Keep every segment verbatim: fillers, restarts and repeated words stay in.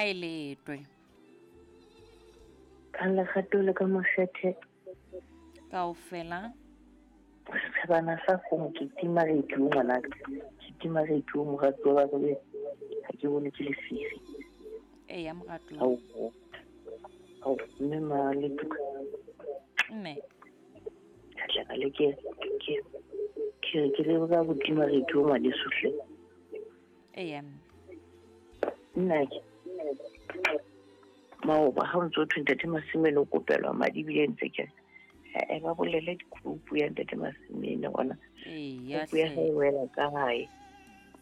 Ha e letwe. Ka lerato le ka makgethe. Kaofela. Setjhabana sa kgomo ke tima radio ngwanaka. Ke tima radio moratuwa wa ka ha ke bone ke lefifi. Eya moratuwa. Ao. Ao mme ma le tuka. Mme. Ka tla ka le ke ke ke ke le ka botima radio ngwaneso hle. Eya mme. Nna ke maoba ha o ntso thwe ntate Masimene o kopelwa madi ebile ntse ke e ba bolele dikupu ya ntate Masimene gona. Eya Kupu ya hae e wela kae?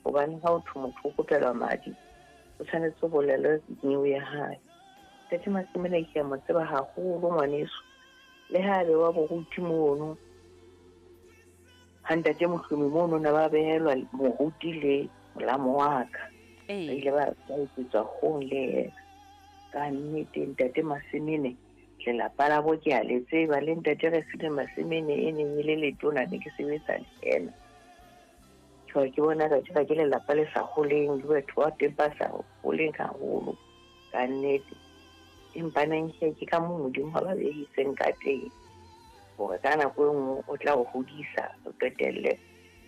Hobane ha o thwe motho o kopelwa madi o tshwanetse ho bolele neo ya hae. Ntate Masimene ke a mo tseba haholo ngwaneso. Le ha be wa boruti mono ha ntate Mohlomi mono na ba behelwa moruti le molamo wa ka. Ba ile ba etsetswa hong le yena. Ka nnete ntate Masimene lelapa la bo ke a le tseba le ntate Refilwe Masimene e neng e le letona ne ke sebetsa le yena. Ke ke bona ka tseba ke lelapa le sa holeng le batho ba teng ba sa holeng haholo ka nnete. Empa neng ke ke ka moo Modimo a ba behitseng ka teng hore ka nako e nngwe o tla o hodisa o qetelle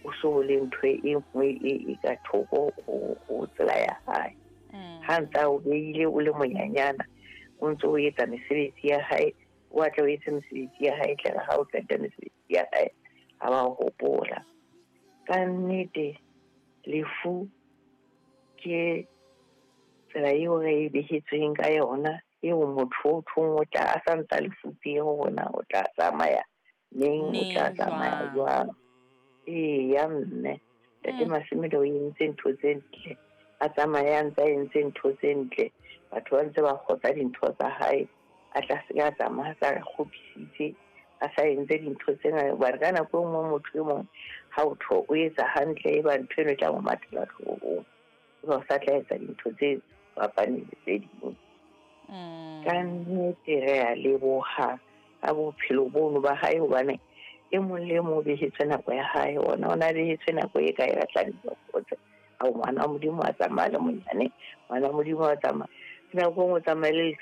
o so le ntho e nngwe e e ka thoko ho tsela ya hae. Ha ntse o behile o le monyanyana o ntse o etsa mesebetsi ya hae, o atla o etse mesebetsi ya hae tlere ha o qeta mesebetsi ya hae ha ba o hopola. Ka nnete lefu ke tsela eo re e behetsweng ka yona eo motho o thong o tla a sa ntsa lefupeng hore na o tla tsamaya neng, o tla tsamaya jwang. Eya mme ntate Masimene o entse ntho tse ntle, a tsamaya a ntse a entse ntho tse ntle, batho ba ntse ba kgotsa dintho tsa hae, a tla se ka tsamaya a sa re kgopisitse, a sa entse dintho tse ngata. Hobane ka nako e nngwe motho e mong ha o tho o etsa hantle e ba ntho eno e tla mo mathela hloohong, eba o sa tla etsa dintho tse fapaneng le tse ding. Ka nnete re a leboha ka bophelo bono ba hae hobane e mong le e mong o behetswe nako ya hae, ona o na behetswe nako e kae a tla kgotsa. Ao ngwana wa Modimo a tsamaya le monyane, ngwana wa Modimo a tsamaya. Nako e nngwe o tsamaye le